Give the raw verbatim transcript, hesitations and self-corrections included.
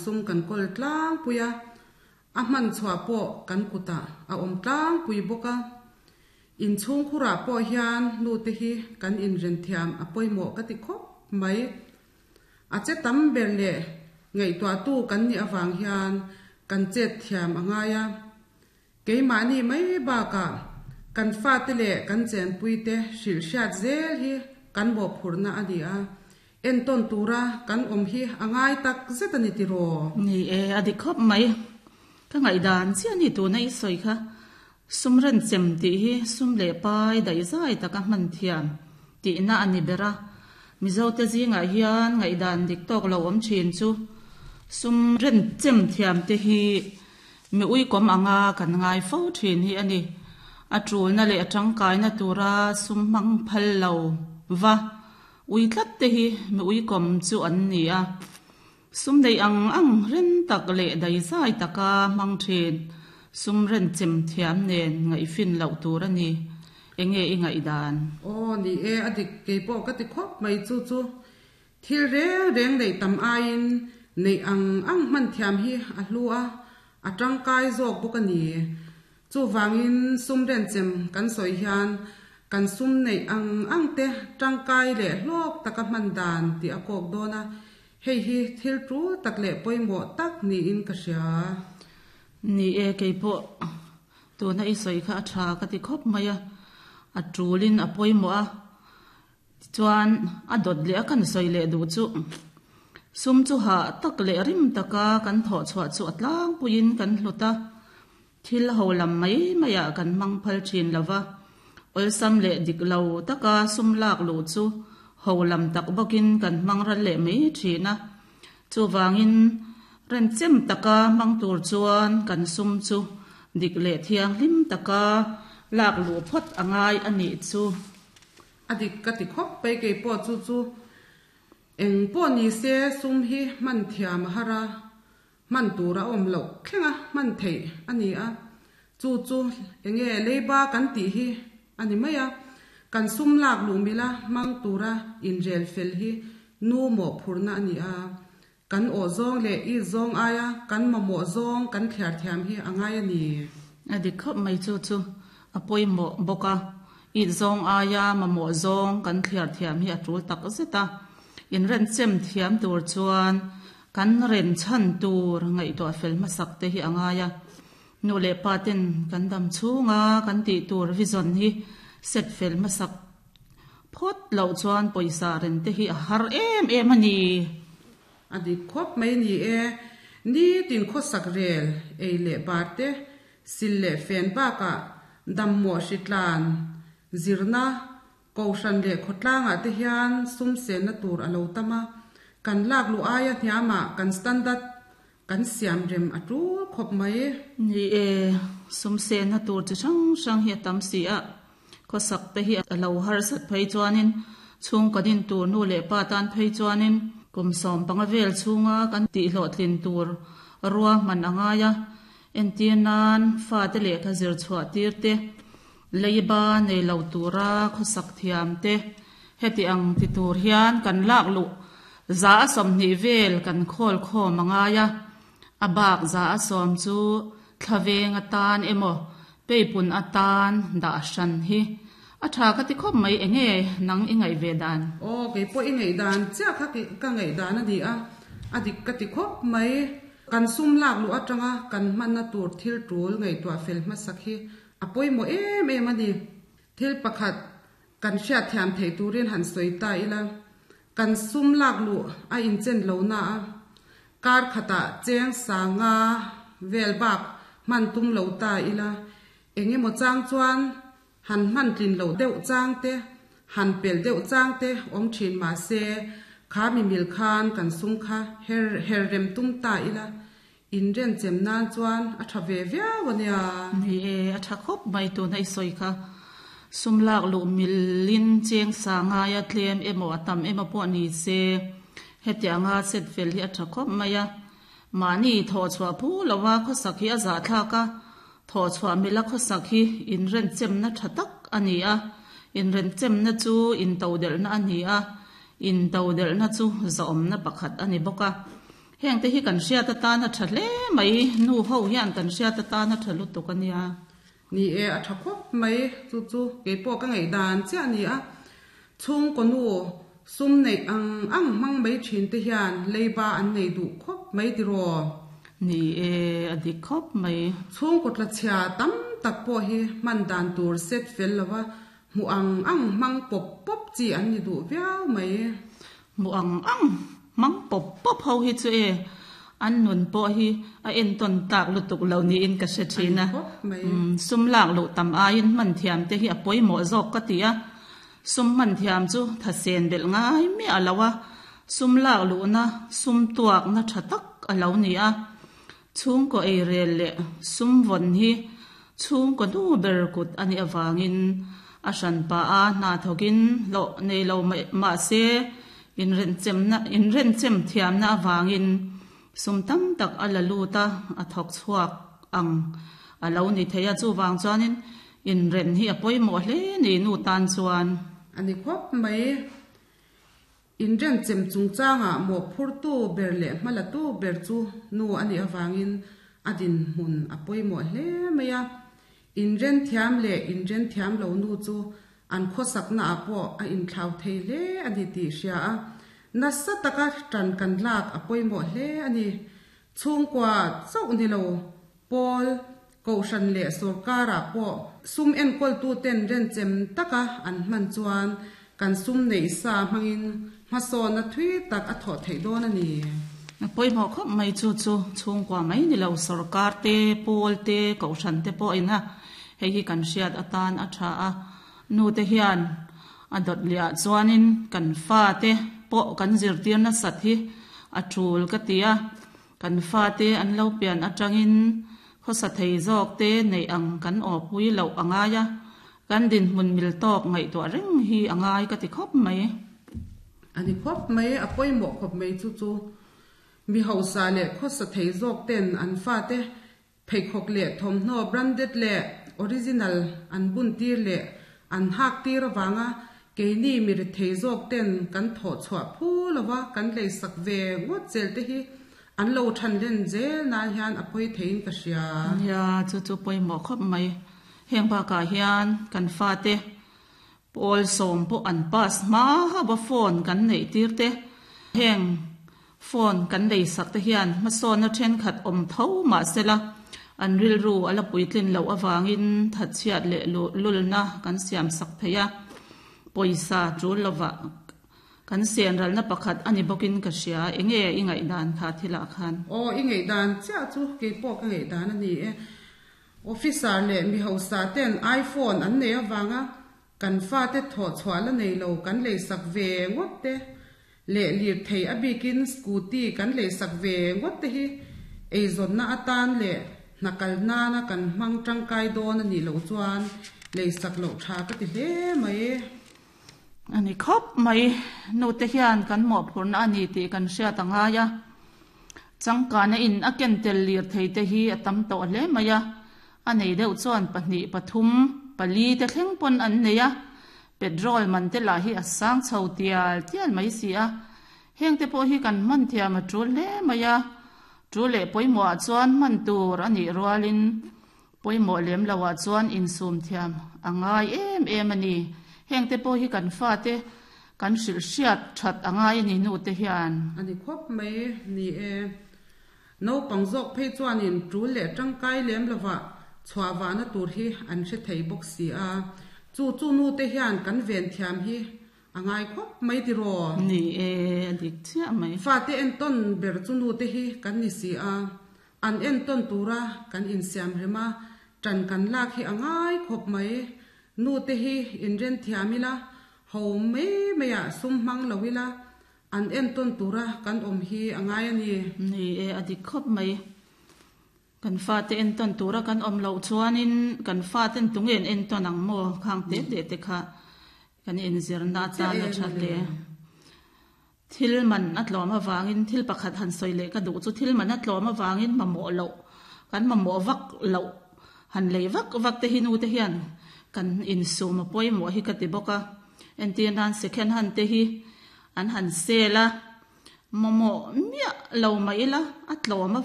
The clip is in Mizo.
sum kan kawl tlangpui a, a hman chhuah pawh kan kutah a awm tlangpui bawk a. Inchhung khurah pawh hian nu te hi kan inren thiam a pawimawh ka ti khawp mai. A che tam ber leh ngaihtuahtu kan nih avang hian kan chet thiam a ngai a. Keimahni mai bakah kan fate leh kan chenpui te hrilh hriat zel hi kan mawhphurhna a ni a. Entawn tura kan awm hi a ngai tak zet a ni tiraw? Ni e, a dik khawp mai. Ka ngaihdan chiah a ni tuna i sawi kha. Sum ren chem tih hi sum leh pai daihzai taka hman thiam tihna a ni ber a. Mizote zingah hian ngaihdan dik tawk lo awm thin chu sum ren chem thiam te hi mi uikawm anga kan ngai fo thin hi a ni. A tulna leh a tangkaina tura sum hmang phal lo va ui tlat te hi mi uikawm chu an ni a. Sum nei ang ang ren tak leh daihzai taka hmang thin sum ren chem thiam nen ngaihfin loh tur a ni. Enge i ngaihdan? Aw ni e, a dik keipawh ka ti khawp mai chu chu. Thil reng reng neih tam aiin neih ang ang hman thiam hi a hlu a, a tangkai zawk bawk a ni. Chuvangin sum ren chem kan sawi hian kan sum neih ang ang te tangkai leh hlawk taka hman dan tih a kawk dawn a, hei hi thil tul tak leh pawimawh tak niin ka hria. Ni e, keipawh tuna i sawi kha a tha ka ti khawp mai a, a tulin a pawimawh a, tichuan a dawt leh a kan sawi leh duh chu sum chu hah tak leh rim taka kan thawh chhuah chu a tlangpuiin kan hlut a, thil ho lam mai maiah kan hmang phal thin lova, awlsam leh dik lo taka sum lak luh chu ho lam tak bawkin kan hmang ral leh mai thin a. Chuvangin ren chem taka hmang tur chuan kan sum chu dik leh thianghlim taka lak luh phawt a ngai a nih chu. A dik ka ti khawp mai keipawh chu chu eng pawh ni se sum hi hman thiam a har a, hman tur a awm loh thleng a hman theih a ni a. Chu chu enge leiba kan tih hi a ni mai a, kan sum lak luh mila hmang tura inrel fel hi nu mawhphurhna a ni a. Kan awh zawng leh i zawng aia kan mamawh zawng kan thliar thiam hi a ngai a ni. A dik khawp mai chu chu a pawimawh bawk a, i zawng aia mamawh zawng kan thliar thiam hi a tul tak zet a. Inren chem thiam tur chuan kan ren chhan tur ngaihtuah fel hmasak te hi a ngai a. Nu leh pa ten kan dam chhunga kan tih tur vision hi set fel hmasak phawt loh chuan pawisa ren te hi a har em em a ni. A dik khawp mai ni e, ni tin khawsak rel ei leh bar te, sil leh fen bakah dammawh hritlan zirna kohhran leh khawtlangah te hian sum senna tur a lo tam a, kan lak luh aia hniamah kan standard kan siam rem a tul khawp mai. Ni e, sum senna tur chi hrang hrang hi a tam si a, khawsak te hi a lo harsat phei chuanin chhung kan in tur nu leh pa tan phei chuanin kum sawm panga vel chhunga kan tih hlawhtlin tur rua hman a ngai a. Entir nan fa te lehkha zir chhuah tir te, leiba nei lo tura khawsak thiam te, heti ang ti tur hian kan lak luh za a sawmhnih vel kan khawl khawm a ngai a. A bak za a sawm chu thlaveng atan emaw peipun atan dah hran hi a tha ka ti khawp mai. Enge nang i ngaih ve dan? Aw, keipawh i ngaihdan chiah kha ka ngaihdan a ni a, a dik ka ti khawp mai. Kan sum lak luh atanga kan hmanna tur thil tul ngaihtuah fel hmasak hi a pawimawh em em a ni. Thil pakhat kan hriat thiam theih turin han sawi ta ila, kan sum lak luh a inchen lo na a, kar khatah cheng sanga vel bak hman tum lo ta ila, engemaw chang chuan han hman tlin lo deuh chang te, han pel deuh chang te awm thin ma se, kha mi mil khan kan sum kha her her rem tum ta ila, in ren chem nan chuan a tha ve viau a nia. Ni e, a tha khawp mai tuna i sawi kha. Sum lak luh milin cheng sanga ya tlem emaw a tam emaw pawh ni se, heti anga set fel hi a tha khawp mai a. Mahni thawh chhuah phu lova khawsak hi a zah thlak a, thawh chhuah mila khawsak hi in ren chemna tha tak a ni a. In ren chemna chu in to delhna a ni a, in to delhna chu zawmna pakhat a ni bawk a. Heng te hi kan hriat atana tha hle mai nu ho hian kan hriat atana tha lutuk ania. Ni e a tha khawp mai chu chu keipawh ka ngaih dan chiah a ni a. Chhungkaw nu sum neih ang ang hmang mai thin te hian leiba an nei duh khawp mai tiraw? Ni e a dik khawp mai. Chhungkaw tlachhia tam tak pawh hi hman dan tur set fel lova hmuh ang ang hmang pawp pawp chi an ni duh viau mai. Hmuh ang ang hmang pawp pawp ho hi chu e an nun pawh hi a entawn tlak lutuk lo niin ka hre thin a. Sum lak luh tam aiin hman thiam te hi a pawimawh zawk ka ti a. Sum hman thiam chu thasen belh ngai miah lo a, sum lak luhna sum tuakna tha tak a lo ni a. Chhungkaw eirel leh sum vawn hi chhungkaw nu ber kut a nih avangin a hranpa a hna thawkin hlawh nei lo mahse inrenchemna inrenchem thiamna avangin sum tam tak a la lut a, a thawk chhuak ang a lo ni thei a. Chuvang chuanin inren hi a pawimawh hle ni nu tan chuan. A ni khawp mai. Inrenchem chungchangah mawhphurtu ber leh hmalatu ber chu nu a nih avangin a dinhmun a pawimawh hle mai a. Inren thiam leh inren thiam lo nu chu an khawsakna ah pawh a inthlau thei hle a ni tih hria a. Nasa taka tan kan lak a pawimawh hle a ni. Chhungkua chauh ni lo pawl kohhran leh sorkarah pawh sum enkawltu ten renchem taka an hman chuan kan sum neih sa hmangin hmasawna thui tak a thawh theih dawn a ni. A pawimawh khawp mai chu chu chhungkua mai ni lo sorkar te pawl te kohhran te pawh ina hei hi kan hriat atan a tha a. Nu te hian a dawt liah chuanin kan fa te pawh kan zirtir nasat hi a tul ka ti a. Kan fa te an lo pian atangin khawsa thei zawk te neih ang kan aw pui loh a ngai a. Kan dinhmun mil tawk ngaihtuah reng hi a ngai ka ti khawp mai. A ni khawp mai, a pawimawh khawp mai chu chu mi hausa leh khawsa thei zawk ten an fa te pheikhawk leh thawmhnaw branded leh original an bun tir leh an hak tir avanga keini mi ri thei zawk ten kan thawh chhuah phu lova kan lei sak ve ngawt zel te hi an lo than len zel nan hian a pawi theiin ka hria. Nia chu chu pawimawh khawp mai. Heng bakah hian kan fa te pawl sawm pawh an pass hma hauh a phone kan neih tir te. Heng phone kan lei sak te hian hmasawna thenkhat awm tho mahsela an rilru a la puitlin loh avangin thatchhiat leh lulna kan siam sak thei a. Pawisa tul lova kan sen ralna pakhat a ni bawkin ka hria. Enge i ngaih dan kha thilah khan? Aw i ngaih dan chiah chu keipawh ka ngaih dan a ni e. Officer leh mi hausa ten iPhone an nei avanga kan fa te thawh chhuah la nei lo kan lei sak ve ngawt te leh lir thei a bikin scooty kan lei sak ve ngawt te hi eizawnna atan leh hnakal nana kan hmang tangkai dawn a nih loh chuan lei sak loh tha ka ti hle mai. A ni khawp mai. Nu te hian kan mawhphurna a ni tih kan hriat a ngai a. Changkana in a ken tel lir thei te hi a tam tawh hle mai a. A nei deuh chuan pahnih pathum pali te thleng pawn an nei a. Petrol man te lah hi a sang chho tial tial mai si a. Heng te pawh hi kan hman thiam a tul hle mai a. Tul leh pawimawh ah chuan hman tur a nih rualin pawimawh lem lo ah chuan insum thiam a ngai em em a ni. Heng te pawh hi kan fa te kan hrilh hriat that a ngai a ni nu te hian. A ni khawp mai ni e. Naupang zawk phei chuanin tul leh tangkai lem lova chhuah vahna tur hi an hre thei bawk si a. Chu chu nu te hian kan ven thiam hi a ngai khawp mai tiraw? Ni e, a dik chiah mai. Fa te entawn ber chu nu te hi kan ni si a. An entawn tura kan insiam rem a, tan kan lak hi a ngai khawp mai. Nu te hi inren thiam ila, ho mai mai ah sum hmang lo ila, an entawn tura kan awm hi a ngai a ni. Ni e, a dik khawp mai. Kan fa te entawn tura kan awm loh chuanin kan fa ten tunge an entawn ang maw khang te te te kha kan inzirna atan a tha hle. Thil man a tlawm avangin thil pakhat han sawi leh ka duh chu thil man a tlawm avangin mamawh loh kan mamawh vak loh han lei vak vak te hi nu te hian kan insum a pawimawh hi ka ti bawk a. Entir nan second hand te hi an han sel a. Mamawh miah lo mah ila a tlawm